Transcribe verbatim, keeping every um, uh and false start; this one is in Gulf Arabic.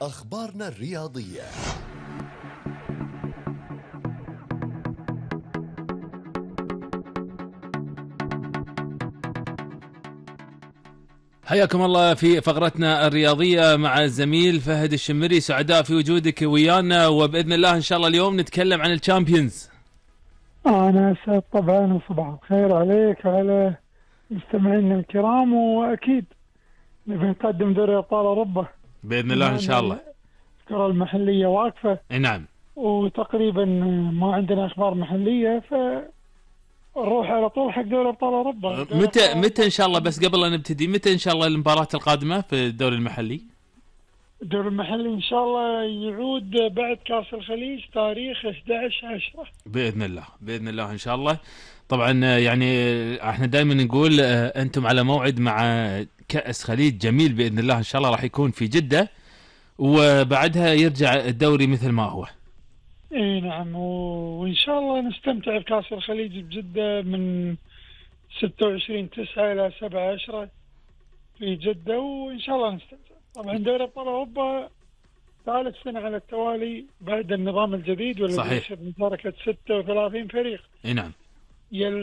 أخبارنا الرياضية. حياكم الله في فقرتنا الرياضية مع الزميل فهد الشمري. سعداء في وجودك ويانا، وبإذن الله إن شاء الله اليوم نتكلم عن الشامبيونز. أنا أسعد طبعا، وصباح الخير عليك وعلى مستمعينا الكرام، وأكيد نبي نقدم دوري أبطال أوروبا بإذن الله إن شاء الله. الكرة المحلية واقفة، نعم، وتقريبا ما عندنا أخبار محلية، فنروح على طول حق دوري أبطال أوروبا. متى متى إن شاء الله؟ بس قبل أن نبتدي، متى إن شاء الله المباراة القادمة في الدوري المحلي؟ الدوري المحلي إن شاء الله يعود بعد كأس الخليج تاريخ أحد عشر عشرة بإذن الله، بإذن الله إن شاء الله. طبعا يعني احنا دائما نقول أنتم على موعد مع كأس خليج جميل بإذن الله إن شاء الله، راح يكون في جدة، وبعدها يرجع الدوري مثل ما هو. اي نعم، وإن شاء الله نستمتع بكأس الخليج بجدة من ستة وعشرين تسعة إلى سبعة عشرة في جدة، وإن شاء الله نستمتع. طبعا دوري أبطال أوروبا ثالث سنة على التوالي بعد النظام الجديد، والذي يشهد مشاركة ستة وثلاثين فريق. نعم، يل